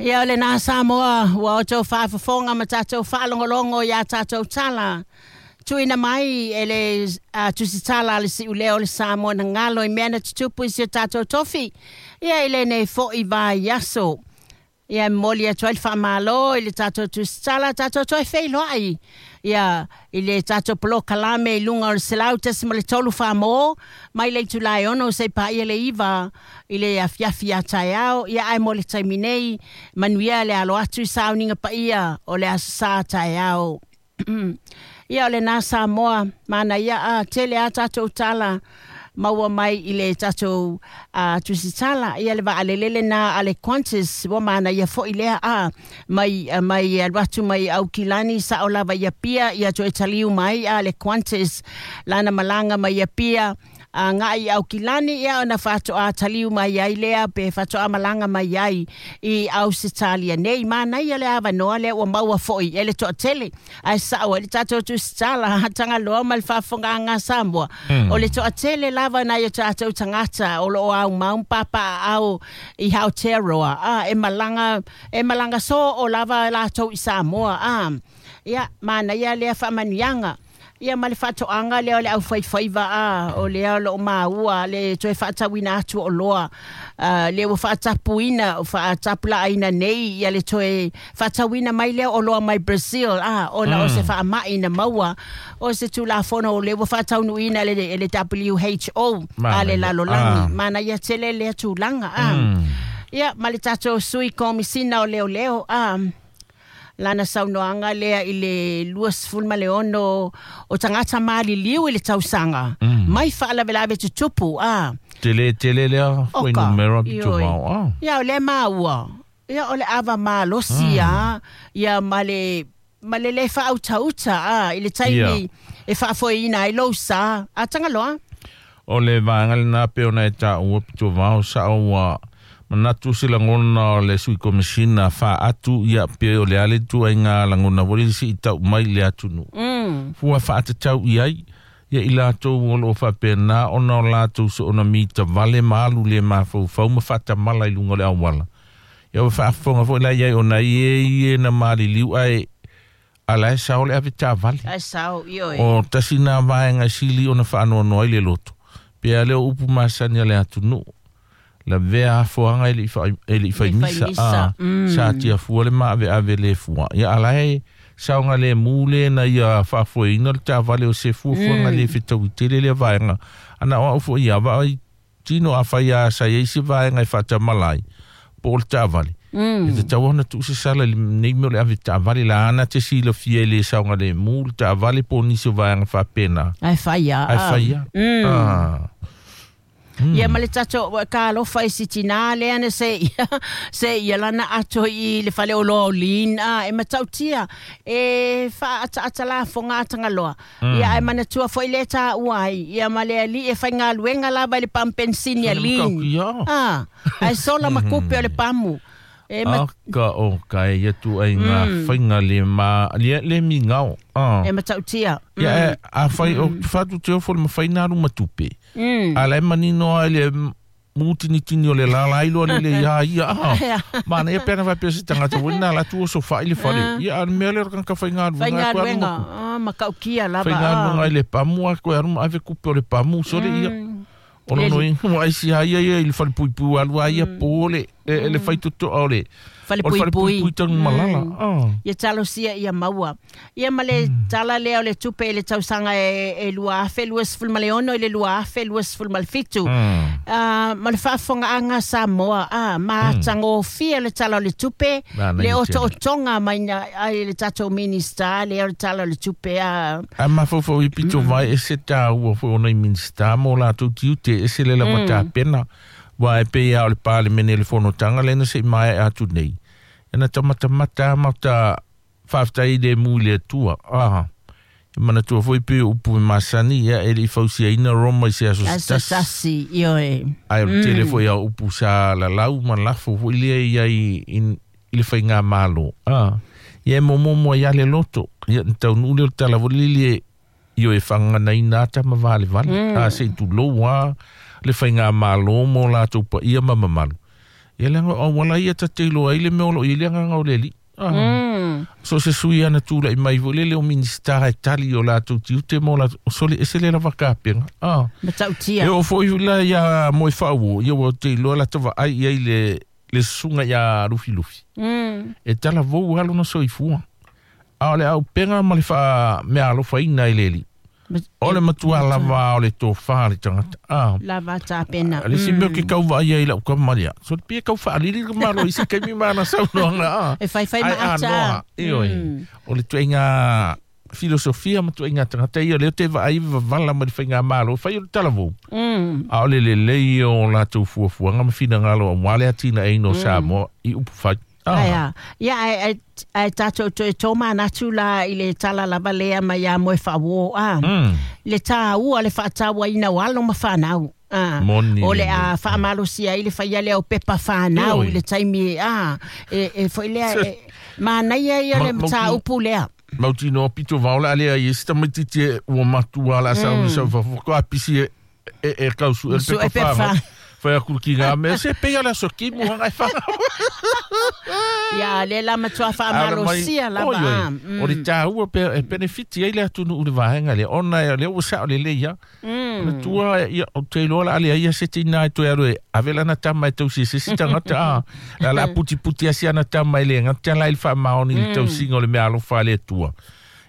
Ia o lenā Samoa ua outou faafofoga ma tatou faalogologo i a tatou tala tuuina mai e le tusitala a le siuleo o le Samoa na galo i mea na tutupu i si o tatou tofi ia i lenei foi vaiaso. Ia e momoli atu ai le faamalo i le tatou tusitala, tatou toe feiloai ia i le tatou polokalame i luga o le 100.3 Famo mai le itula e 6 seia paia le 9 i le afiafi a taeao. Ia ae mo le taimi nei, manuia le alo atu i sauniga paia o le Aso Sa taeao. Ia o lenā Samoa, manaia a tele a tatou tala maua mai i le tatou tusitala. Ia le vaalele lenā a le Qantas, ua manaia foi lea a mai mai alu atu mai Aukilani sao lava i Apia, ia toe taliu mai a le Qantas lana malaga mai Apia agai i Aukilani, ia ona faatoa taliu mai ai lea pe faatoa malaga mai ai i Ausetalia nei. Manaia le avanoa lea ua maua foi e le toatele, ae sao ai le tatou tusitala Tagaloa ma le faafofogaaga a Samoa. O le toatele lava nai o tatou tagata o lo o aumau ma papaaao i Aotearoa, a e malaga e malaga soo lava latou i Samoa. A ia manaia lea faamanuiaga. Ia ma le faatoaga lea o le aufaifaiva a o lea o lo o maua le toe faatauina atu o oloa lea ua faatapuina faatapulaaina nei ia le toe faatauina mai lea o oloa mai Brazil a ona o se faamai na maua o se tulafono o lea ua faataunuuina e le WHO a le lalolagi. Manaia tele lea tulaga a. Ia ma le tatou sui komisina o leoleo a lana saunoaga lea i le 26 o tagata maliliu i le tausaga mai faalavelave tutupu a. Tele tele lea fuainumera pito vao a. Ia o lea maua. Ia o le ava malosi a ia ma le ma le lē faautauta a i le taimi e faafoeina ai lou sa a Tagaloa. O le vaega lenā pei ona e taua pito vao sao ua manatu se lagona o le sui komisina faatu ia pei o le a le ituaiga lagona foi lele se'i tau mai i le atunuu. Fua faatatau i ai ia i latou o loo faapena ona o latou soona mitavale ma alu le mafaufau ma faatamala i luga o le auala. Ia ua faafofoga foi la i ai ona e i e na maliliu ae ala e sao le ave taavale. Ae sao, ioe. O tasi nā vaega e sili ona faanoanoa ai le loto. Pe a lea o upu masani a le atunuu. Lavea afoaga e le i fai misa. A, sa tiafua le maaveave le fua. Ia ala e saogalemu le na ia faafoeina le taavale o se fuafuaga le fetaui tele lea vaega. Ana o au foi ia vaai tino a fai a sa i ai se vaega e faatamala ai po o le taavale. E tatau ona tuu se sala i lenei mea o le ave taavale la ana te silafia e le saogalemu le taavale po o nisi o vaega faapena. Ae fai a. Ae fai a. Ah. Ia ma le tatou talofa i si tinā lea na se ia, se ia lana ato i le fale oloa o Lean, a, e matautia e faaataata lafoga a Tagaloa. Ia ae manatua foi lea e taua ai, ia ma le alii e faigaluega lava i le pamu penisini a Lean. A, ae sola ma kupe o le pamu. E ma... Aka o ka e ia tu ai ngā whainga le ma le, le mi ngao. E matautia. Ia e, a whai o whatu te ofo le mawhai nā ruma tupe. A la e manino ai le mūtinitini o le lala ai loa le le ia ia. Mana ia pena whai se tangata wina la tu o so whai le whare. Ia a mea le raka whai ngā runga. Whai ngā ruenga. Makaukia lava. Whai ngā runga i le pamu a koe aruma ave kupe o le pamu sore ia. O lono i wa ai si ai ia i le whare puipui alu ai ia po le le whai toto o le Fale puipui. Pui tanu malala. Ia talosia ia maua. Ia ma le tala lea o le tupe i le tausaga e 2026 i le 2027. Ma le faafofogaaga a Samoa, a, matagofie le tala o le tupe, le otootoga mai ai le tatou Minista lea o le tala o le tupe. A. A mafaufau i pito vai e se tāua foi ona i Minista mo latou tiute e se le lava tapena. Wa e pei a o le Palemene le fonotaga lea na se i maea atu nei. E na tamatamata ma ta faafetai le mu i le Atua. Aha. E manatua foi pei o upu e masani ia e le i fausiaina Roma i se aso se tasi. Aso tasi, ioe. Ae o le tele foi a upu sa lalau ma lafo foi lea i ai i le faigamalo. A. Ia e momomo ai a le loto. Ia na taunuu lea o le tala foi lele ioe fagaganaina ata ma valevale. A se i tulou a le faigamalo mo latou paia ma mamalu. Ia le auala ia ta te iloa ai le mea o loo i ai le agaga o le Alii. So se sui ana tula'i mai foi lele o Minisita e tali i o latou tiute ma o latou sole ese le lava kapega. Matautia. E oo foi la ia moe faauo, ia ua te iloa lata vaai i ai le susuga ia Lufilufi. E talavou lava lona soifua. A o le aupega ma le faameaalofaina e le Alii. O le matua lava o le tofa le tagata. Lava tapena. Le isi mea ou te tau vaai ai i lau tama lea. So pei e tau faalili le malo i se taimi ma ana saunoaga. E faifai ma ata. Ai anoa. Ioe. O le ituaiga filosofia ma ituaiga tagata ia lea ou te vaai vavala ma le faigamalo. Fai o le talavou. A o le lelei o latou fuafuaga ma finagalo aua le atinaeina o Samoa i upu fai. Ae a. Ia, ae tatou toe tōmanatu la i le tala lava lea mai ia Moe Faauo, a. Le tāua, le faatauaina o alo ma whanau. Moni O le a faamalosia ai le faia lea o pepa whanau i le taimi, a, e foi lea, e, manaia ia le mataupu lea. Mautinoa pito vao le a lea i e se tamaitiiti e ua matua o le a sauni sau i fafo, faatoa pisi e tau sue le pepa whanau. Whai aku ki ngā mea, se pei ala so ki mua ngai whanau. Ia, le la matua whaamalosia lava. O le tāua pe, e benefiti ai le atunu u le vaenga le, ona e le ua sao le le ia. O le tua, ia, o te iloa la ale ia se tina e toe alu e, ave lana tama e tausi se si tangata, a. La la puti puti asi ana tama e le ngata la il whaamaoni le tausinga o le mea alofa le tua.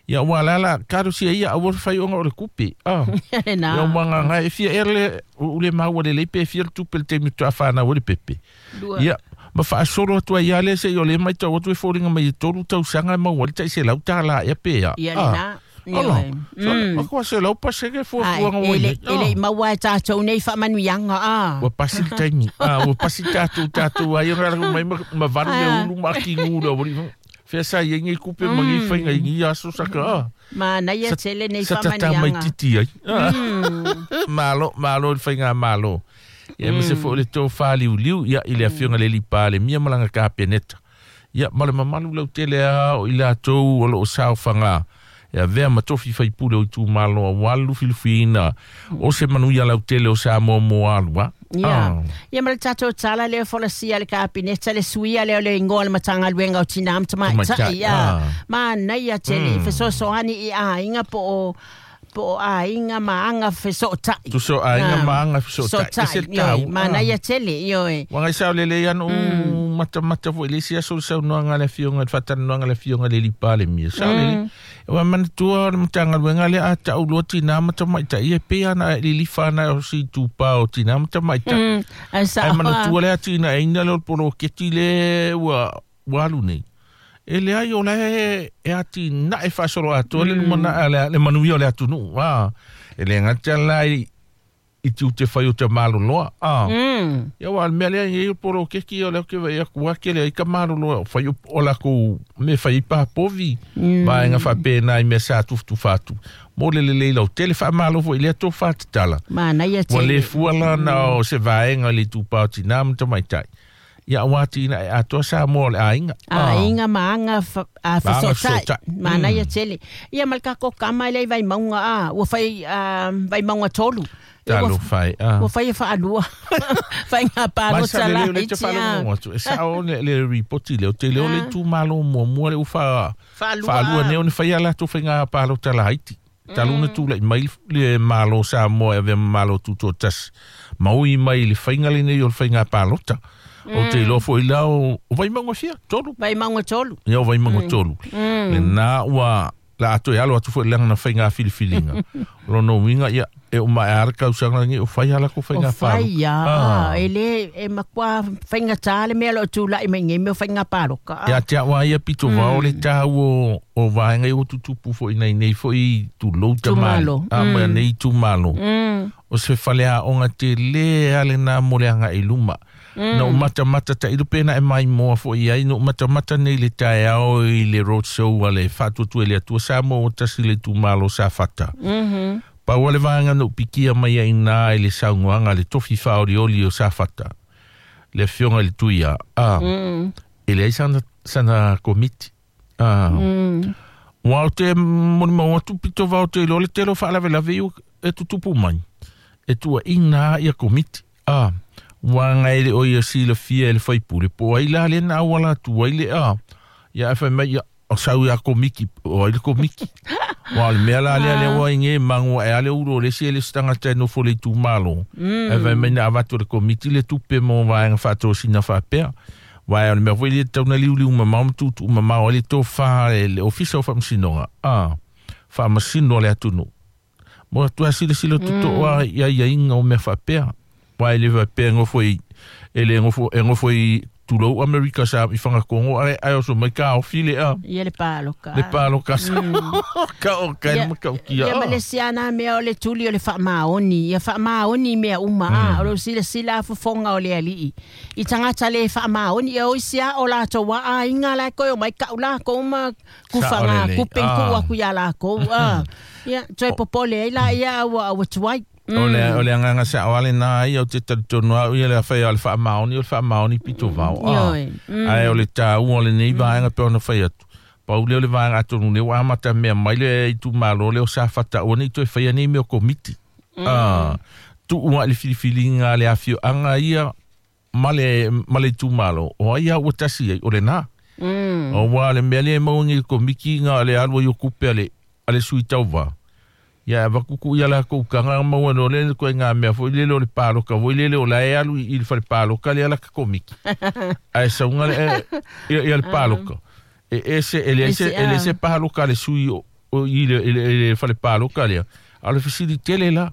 Ia ua la la karosia ia aua le faioga o le kupe. Ia ua ngai e fia ea le u le maua lelei pe fia le tupe le taimi faatoa fanau ai le pepe. Ia ma faasolo atu ai lava lea seia o lea e maitau atu e foliga mai e 3 tausaga e maua ai le $100 ea pe a. Ia lena. Ala, matua 100% fuafuaga ua i ai. E le i maua e tatou nei faamanuiaga, a. Ua pasi le taimi. Ua pasi tatou tatou ai ona ala mai ma valu le ulu ma akigu le aualii. Fea sa i ai nei kupe ma nei faiga i nei aso saka a. Manaia tele nei Sa faamanuiaga. tata mai titi ai. Malo, malo le faigamalo. Ia aemaise foi o le tofa liuliu ia i le afioga i le Alii Palemia ma lana Kapeneta. Ia ma le mamalu lautele lava o i latou o lo o saofaga e avea ma tofi faipule o itumalo aua le lufilufiina o se manuia lautele o Samoa mo alu a. Ia. Ia ma le tatou tala lea folasia le Kapeneta le suia lea o le igoa o le Matagaluega o Tinā ma Tamaitai. Ia. Manaia tele fesoasoani i aiga po o po o aiga ma aga fesootai. Tusa o aiga ma aga fesootai. Ese le taua. Manaia tele, ioe. Ua ngai sao lelei ana ou matamata foi i le isi aso le saunoaga a le Afioga, le faatalanoaga a le Afioga i le Alii Palemia. Sao lelei. Ua manatua o le Matagaluega lea a tau loa tinā ma tamaitai, e pei lava ona lilifa ana o se itupa o tinā ma tamaitai. Ae sao. Ae manatua le atinaeina lea o le poloketi lea ua alu nei. E leai o la e atinae faasoloatoa le lumanai le manuia o le atunuu. E le gata la i tiute fai o tamaloloa. Ia aua o le mea lea e i ai o le poloketi o lea ou te vaai atu ua tele ai tamaloloa o fai o latou mea e fai ai papovi, vaega faapena i mea sa tufatufa atu mo le lelei lautele. Faamalo foi i lea tofa tatala. Manaia Ua tele. le fua la na o se vaega i le itupa o tinā ma tamaitai. Ia aua atinae atoa Samoa o le aiga. Aiga ma aga Ma aga fesootai. fesootai. Manaia tele. Ia ma le tatou kama lea i Vaimauga, a, ua fai Vaimauga 3. Ia ua Talofa e, a. Ua fai e faalua. Faiga Mai palota sa la lelei o lea e te iti, a. faalogologo atu. E sao le ripoti lea, ou te iloa le itumalo muamua lea ua Faalua, faalua a. nei ona fai a latou faiga palota laiti. Talu ona tulai mai le Malo o Samoa e avea ma Malo Tutoatasi. Ma ui mai i le faiga lenei o le faiga palota. Ou te iloa foi la o Vaimauga fia, 3. Vaimauga 3. Ia o Vaimauga 3. Lena ua la a toe alo atu foi i lana faiga filifiliga. O lona uiga, ia, e uma ae lava le tausaga lenei o fai lava latou O faiga palota. fai lava, e le, e matua faigata le mea o lo o tulai mai nei mea o faiga palota. Ia te au lava ia pito vao le taua o vaega ia ua tutupu foi nei nei foi tulou tamali. Itumalo. A, ma nei itumalo. O se faleaoga tele lava lena mo le agai i luma. Na ou matamata tailo pe na e maimoa foi i ai, na ou matamata nei i le taeao i le road show a le Faatuatua i le Atua Samoa ua tasi le itumalo o Safata. Pau lava le vaega na ou pikia mai ai i ina i le saunoaga a le tofi faaolioli o Safata, le afioga i le Tuia, a, e leai sana komiti. A, ua ou te molimau atu pito vao te iloa le tele o faalavelave ia e tutupu mai, e tuuaiina lava ia komiti. A, Ua ngai le o ia silafia e le faipule po ai la le na auala atu ai le a ia e fai mai ia o sau ia komiki o ai le komiki. Wa le mea la lea le ua inge mangu e ale uro le si ele stanga te nofo le itumalo. E fai mai na avatu le komiti le tupe mo vaega faatosina faapea. Wa o le mea foi le tau na liuliu mamao ma tuutuu mamao ai le tofā le ofisa o faamasinoga a faamasino le atunuu. Mo atu a silasila totoa i aiaiga o mea faapea. Wa e le faapea gofo i e le gofo e gofo i tulou Amerika sa i whangakongo ai ai oso mai ka ofi le a. Ia le paloka. Le paloka sa. Ka o ka Ia- ma ka o kia. Ia ma le siana mea o le tuli o le faamaoni. Ia faamaoni mea uma a. O lo silasila a fofoga o le alii. I tagata le faamaoni ia o isi a o latou a aiga la e koe o mai kau lakou ma kufaga lelei. kupe ku aku iā lakou a. Ia toe popole ai la ia ua ua tuai. O le anganga sa o ale nā ia o te talitonu au ia le awhai o le whaamaoni, o le whaamaoni pito vao. Ioe. Ai o le tāu o le nei vaenga pe ona whai atu. Pau lea o le vaenga atonu le ua amata mea mai le i tu malo le o sa whata o nei toe whai nei mea o komiti. Tu ua le filifilinga le awhio anga ia ma le tu malo. O ai au tasi ai o le nā. O wā le mea le maungi le komiki ngā le alua i o kupe ale sui tauva. Ia vakuku ia la ko kanga maua no le ko ngā mea foi le le paloka foi le o la e alu i le fale paloka le ala ka komiki. Ai saunga le ia le paloka. E ese ele ese ele ese paloka le sui o i le le fale paloka le. A le fisili tele la.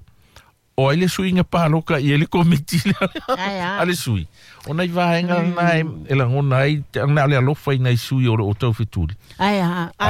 O ai le sui nga paloka i le komiti le. Ai A le sui. O nei vaenga nai e langona ai te na le alofa i nei sui o le o tau fetuli. Ai a.